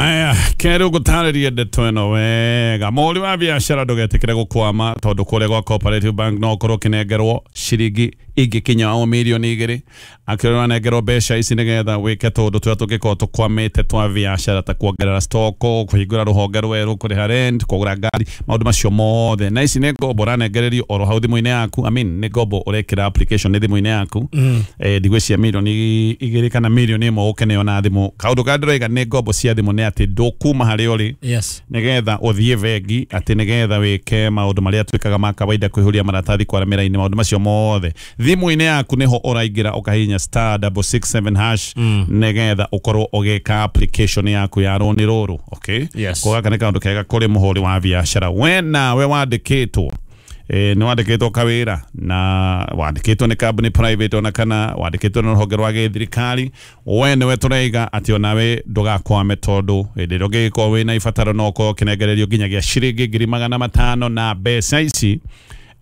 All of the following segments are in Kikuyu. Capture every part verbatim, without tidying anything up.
Aya, kerĩ ngũtarĩrie ndeto ĩno wega. Mũhũri wa biacara ndũgetĩkĩre gũkwama tondũ kũrĩa gwa Cooperative Bank no ũkorwo ũkĩnengerwo ciringi ingĩkinya o mirioni igĩrĩ. Akĩrwo ũranengerwo mbeca ici nĩgetha wĩke tũũndũ tũrĩa tũngĩkorwo tũkwamĩte twa biacara ta kuongerera stoko, kũhingũra rũhonge rwerũ, kũrĩha rent, kũgũra ngari, maũndũ macio mothe. Na ici nĩ ngombo ũranengererio oro hau thimũ-inĩ yaku. I mean, nĩ ngombo ũrekĩra application nĩ thimũ-inĩ yaku. Eh, ndigwĩciria mirioni igĩrĩ kana mirioni ĩmwe ũkĩneo na thimũ. Kaũndũ karĩa ndĩroiga nĩ ngombo cia thimũ nĩ atĩ ndũkuma harĩa ũrĩ Yes. nigetha ũthiĩ bengi atĩ nigetha wĩke maũndũ marĩa twĩkaga ma kawaida, kũihũria maratathi, kwara mĩraini, maũndũ macio mothe thimũ-inĩ yaku nĩho ũraingĩra ũkahihinya star double six seven hash nigetha ũkorwo ũgĩka application yaku ya rũni rũrũ. Okay? Yes. Ko gaka nĩ kaũndũ kega kũrĩ mũhũri wa biacara. We nawe wandĩkĩtwo, e, nĩ wandĩkĩtwo kawĩra na wandĩkĩtwo nĩ kambuni private ona kana wandĩkĩtwo nĩ rũhonge rwa gĩthirikari, we nĩwe tũraiga atĩ onawe ndũgakwame tondũ hĩndĩ ĩrĩa ũngĩgĩkorwo wĩna ibataro no ũkorwo ũkĩnengererio nginyagia ciringi ngiri magana matano na mbeca ici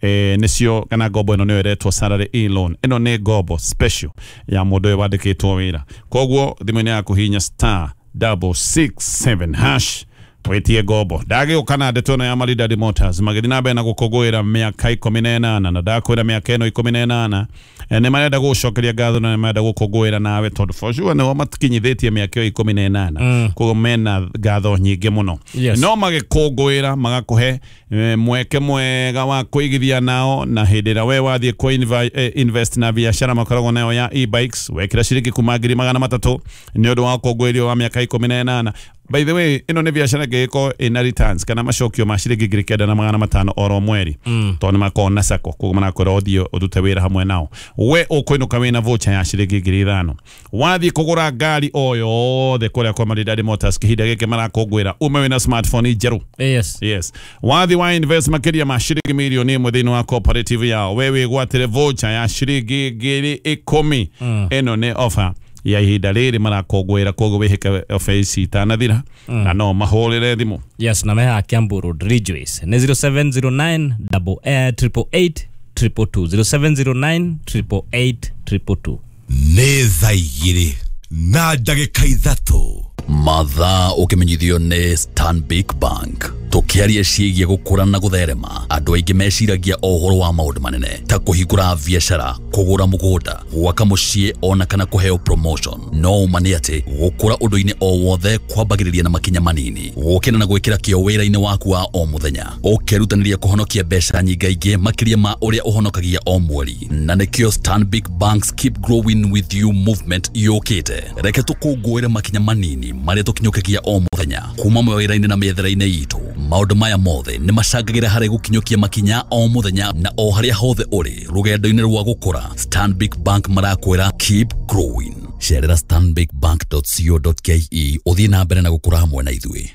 eh, nĩcio kana ngombo ĩno nĩyo ĩretwo salary e-loan. Ĩno nĩ ngombo special ya mũndũ ũyũ wandĩkĩtwo wĩra. Koguo thimũ-inĩ yaku hihinya star double six seven hash wĩtie ngombo. Ndagĩũka na ndeto ĩno ya Maridadi Motors magĩthiĩ na mbere na gũkũngũĩra mĩaka ikũmi na ĩnana, na ndakwĩra mĩaka ĩno ikũmi na ĩnana eh, nĩ marenda gũgũcokeria ngatho na nĩ marenda gũkũngũĩra nawe tondũ for sure nĩo makinyithĩtie mĩaka ĩyo ikũmi na ĩnana, koguo mena ngatho nyingĩ mũno. Yes. No magĩkũngũĩra magakũhe eh, mweke mwega wa kũigithia nao, na hĩndĩ ĩrĩa we wathiĩ kũ eh, invest na biacara makoragwo nayo ya e-bikes, wekĩra ciringi kuma ngiri magana matatũ nĩ ũndũ wa ũkũngũĩri wa mĩaka ikũmi na ĩnana. By the way, ĩno nĩ biacara ĩngĩgĩkorwo ĩna returns kana macokio ma ciringi ngiri kenda na magana matano oro mweri, tondũ nĩ makoragwo na sacco, koguo marakwĩra ũthiĩ ũrute wĩra hamwe nao. We ũkũinũka wĩna voucher ya ciringi ngiri ithano. Wathiĩ kũgũra ngari o yothe kũrĩa kwa Maridadi Motors kĩhinda gĩkĩ marakũngũĩra, ume wĩna smartphone njerũ. Yes. Yes. Wathi wa invest makĩria ma ciringi mirioni ĩmwe thĩinĩ wa cooperative yao, we wĩgwatĩre voucher ya ciringi ngiri ikũmi. Ĩno nĩ offer ya ihinda rĩrĩ marakũngũĩra, koguo wĩhĩke offer ici itanathira na no mahũrĩre thimũ. Yes, na meha Kiambu Road, Ridgeways. Nĩ zero seven zero nine double eh, triple eight triple two, zero seven zero nine triple eight triple two. Nĩ thaa igĩrĩ na ndagĩka ithatũ. Mathaa ũkĩmenyithio nĩ Stanbic Bank. Tũkĩaria ciĩgiĩ gũkũra na gũtherema, andũ aingĩ meciragia o ũhoro wa maũndũ manene ta kũhingũra biacara, kũgũra mũgũnda, gwaka mũciĩ ona kana kũheo promotion. No ũma nĩ atĩ gũkũra ũndũ-inĩ o wothe kwambagĩrĩria na makinya manini, gũkĩra na gwĩkĩra kĩo wĩra-inĩ waku wa o mũthenya, ũkerutanĩria kũhonokia mbeca nyingaingĩ makĩria ma ũrĩa ũhonokagia o mweri. Na nĩkĩo Stanbic Bank's Keep Growing With You movement yũkĩte. Reke tũkũngũĩre makinya manini marĩa tũkinyũkagia o mũthenya kuma mawĩra-inĩ na mĩethere-inĩ itũ. Maũndũ maya mothe nĩ macangagĩra harĩ gũkinyũkia makinya o mũthenya na o harĩa hothe ũrĩ rũgendo-inĩ rwa gũkũra. Stanbic Bank marakwĩra, "Keep growing." Cerera stanbicbank dot co dot ke ũthiĩ na mbere na gũkũra hamwe na ithuĩ.